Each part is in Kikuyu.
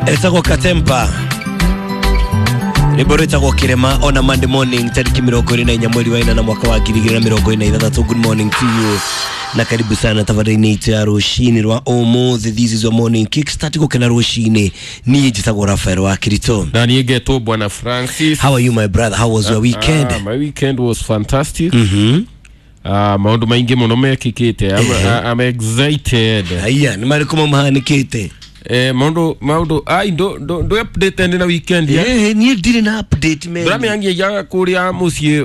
Etagwo Katempa rwĩmbo rwĩtagwo Kĩrema on a Monday morning tarĩki 24 mweri wa 8 mwaka wa 2026. Good morning to you na karibu sana tabarĩinĩ itũ ya rũcinĩ rwa ũmũthĩ. This is your morning kickstart gũkena rũcinĩ. Niĩ njĩtagwo Rafael wa Kirito. Na niĩ ngetwo Bwana Francis. How are you, my brother? How was your weekend? My weekend was fantastic. Maũndũ maingĩ mũno mekĩkĩte. I'm excited. Haiya, nĩ marĩkũ mahanĩkĩte? Maũndũ ai ndo update ndĩ na weekend ya. Niĩ ndirĩ na update, man. Ndũramĩangia kũrĩa mũciĩ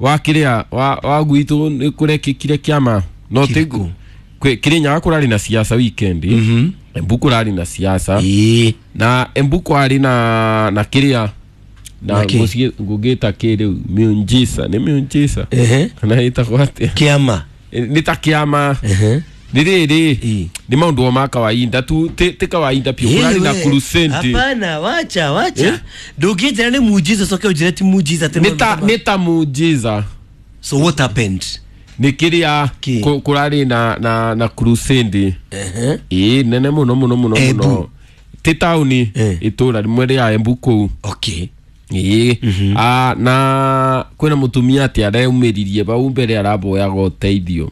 wa kĩrĩa wa gwitũ nĩ kũrekĩkire kĩama no Kĩrĩkũ? Kĩrĩnyaga kũrarĩ na siasa weekend. Embu kũrarĩ na siasa. Na Embu kwarĩ na kĩrĩa na Na kĩ? mũciĩ ngũgĩta kĩ rĩu miunjisa nĩ miunjisa kana ĩtagwo atĩa? Kĩama. Nĩ ta kĩama. Nĩ rĩrĩ nĩ maũndũ o ma kawaida tu ti kawaida biũ kũrarĩ na Wewe, crusade. Hapana, wacha wacha. Eh? Ndũngĩnjĩra nĩ muujiza coke ũnjĩre ti muujiza atĩ Nĩ ta muujiza. So what happened? Nĩ kĩrĩa Kĩ? Kũrarĩ na crusade ĩĩ nene mũno mũno mũno. Embu. Mũno ti taũni itũra rĩmwe rĩa Embu kũu. Ĩĩ. Na kwĩna mũtumia atĩ areumĩririe bau mbere araboyaga ũteithio.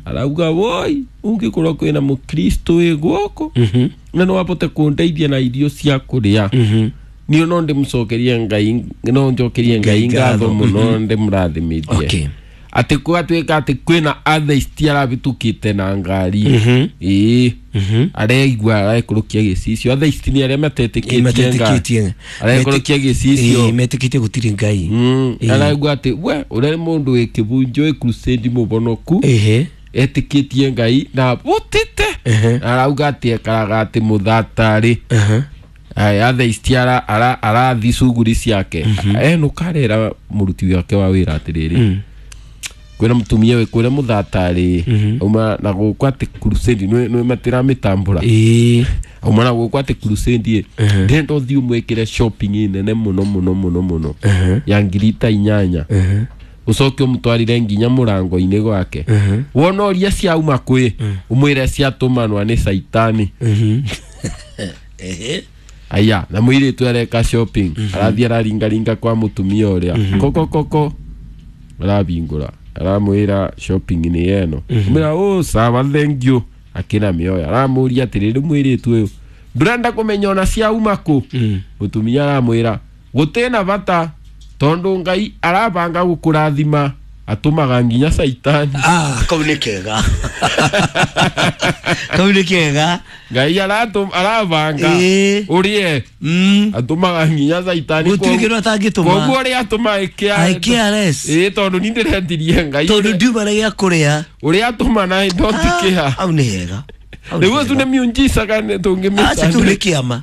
Arauga woi ũngĩkorwo kwĩna mũkristo wĩ gũkũ na no abote kũndeithia na irio cia kũrĩa niĩ no ndĩmũcokerie Ngai no njokerie Ngai ngatho mũno ndĩmũrathimithie. Atĩ gwatuĩka atĩ kwĩna atheist arabĩtũkĩte na ngari ĩĩ areigua arekũrũkia gĩcicio. Atheist nĩ arĩa matetĩkĩtie Ngai. Matetĩkĩtie. Arekũrũkia gĩcicio. Metĩkĩtie gũtirĩ Ngai. Araigua atĩ we ũrĩa mũndũ wĩ kĩbunjo wĩ crusade mũbonoku etĩkĩtie Ngai na bũtĩte. Arauga atĩ ekaraga atĩ mũthatarĩ aya atheist arathi cuguri ciake enũka arera mũruti wake wa wĩra atĩrĩrĩ kwĩna mũtumia wĩ kũrĩa mũthatarĩ auma na gũkũ atĩ crusade nĩ matiramĩtambũra auma na gũkũ atĩ crusade ĩ ndĩrenda ũthiĩ ũmwĩkĩre shopping nene mũno mũno mũno mũno ya 8,000 ũcoke ũmũtwarire nginya mũrango-inĩ gwake wona ũria ciauma kwĩ ũmwĩre ciatũmanwa nĩ caitani. Aya na mũirĩtu areka shopping arathiĩ araringaringa kwa mũtumia ũrĩa koko koko arabingũra aramwĩra shopping nĩ ĩno mwĩra oh sawa thank you akĩna mĩoya aramũria atĩrĩrĩ mũirĩtu ũyũ ndũrenda kũmenya ona ciauma kũ mũtumia aramwĩra gũtĩna bata tondũ Ngai arabanga gũkũrathima atũmaga nginya caitani. Kau nĩ kega. Kau nĩ kega. Ngai arabanga ũrĩe atũmaga nginya caitani. Gũtirĩ kĩndũ atangĩtũma. Koguo ũrĩa atũma IKRS. Ĩĩ tondũ ni ndĩretirie Ngai tondũ ndiuma na gĩa kũrĩa ũrĩa atũma na ndotikĩha. Hau nĩ hega. Hau nĩ Nĩguo tu hega. nĩ miunjisa kana tũngĩmĩta Aca kĩu nĩ kĩama.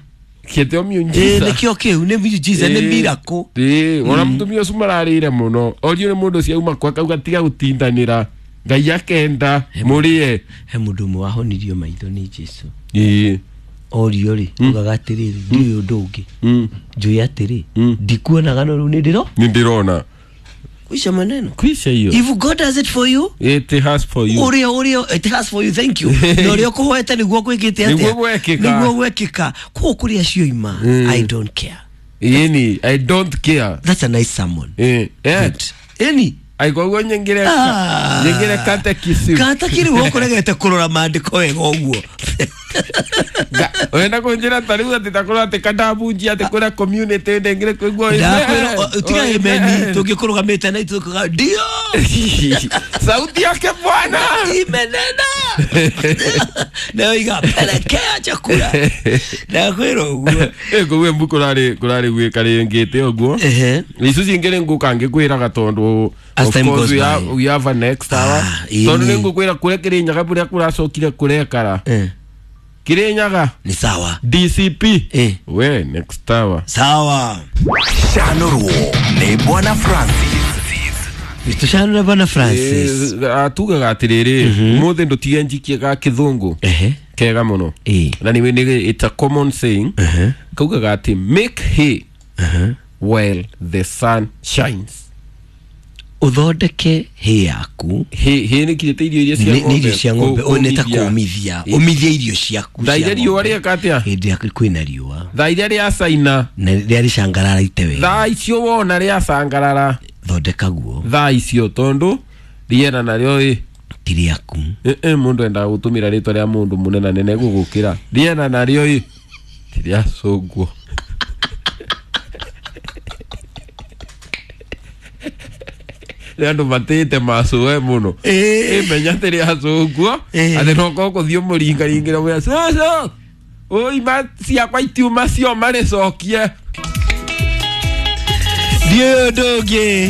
Kĩtio miunjisa. Nĩkĩo kĩu nĩ miujiza nĩ miracle. Ĩĩ ona mũtumia ũcio mararĩire mũno orio nĩ mũndũ ciauma kwa kauga tiga gũtindanĩra Ngai akenda mũrĩe. He mũndũ ũmwe wahonirio maitho nĩ Jesu. Ĩĩ. Orio rĩ ugaga atĩrĩrĩ ndiũĩ ũndũ ũngĩ njũĩ atĩrĩ ndikuonaga no rĩu nĩ ndĩro Nĩ ndĩrona. Kuisha maneno. Kwisha hiyo. If God does it for you, It has for you. ũrĩa ũrĩa it has for you, thank you. Na ũrĩa ũkũhoete nĩguo gwĩkĩte atĩa? Nĩguo gwekĩka. Nĩguo gwekĩka. Koguo kũrĩa cioima I don't care. Ĩni I don't care. That's a nice sermon. Ĩĩ. Ĩni. Ai koguo nyingire nyingire catechism. Kata kĩrĩ ũkũregete kũrora maandĩko wega ũguo. Ũrenda kũnjĩra ta rĩu atĩ takorwo atĩ kandabunjia atĩ kwĩna community ndengire kũigua Ndakwĩra tiga ĩmeni tũngĩkũrũgamĩte na itũkaga ndio sauti yake Bwana imenena nayo iga pelekea chakula ndakwĩra ũguo. Koguo Embu kũrarĩ gwĩka rĩngĩte ũguo icu cingĩ nĩ ngũka ngĩkwĩraga tondũ As of time course goes we by. have, we have a next hour tondũ nĩ ngũkwĩra kũrĩa Kĩrĩnyaga kũrĩa kũracokire kũrekara Kĩrĩnyaga Ni sawa. DCP we next hour Sawa. Shanurwo nĩ Bwana Francis. Tũcanũre Bwana Francis. Tugaga atĩrĩrĩ mũthĩ ndũtige njikie ga kĩthũngũ kega mũno na nĩ it's a common saying kaugaga atĩ make hay while the sun shines. Ũthondeke hĩ yaku. Hĩ nĩ kirĩte irio iria cia nĩ nĩ irio cia ng'ombe. Ũyũ nĩ ta kũmithia. kũmithia, ũmithie irio ciaku Thaa cia iria riũa ng'ombe. rĩeka atĩa? Hĩndĩ ya kwĩna riũa. Thaa iria rĩa caina. Na rĩrĩa rĩcangararaite wega. Thaa icio wona rĩacangarara. Thondeka guo. Thaa icio tondu rĩera narĩo ĩ Ti rĩaku. Ĩ mũndũ endaga gũtũmĩra rĩtwa rĩa mũndũ mũnene nene gũgũkĩra rĩera narĩo ĩ ti rĩa cũngwo. Nĩ andũ matĩĩte macũe mũno. Ĩmenya atĩ rĩa cũngwo atĩ nokorwo kũthiĩ ũmũringaringĩre mwĩra cũcũ ũima ciakwa itiuma cioma rĩcokie. Ndiũĩ ũndũ ũngĩ.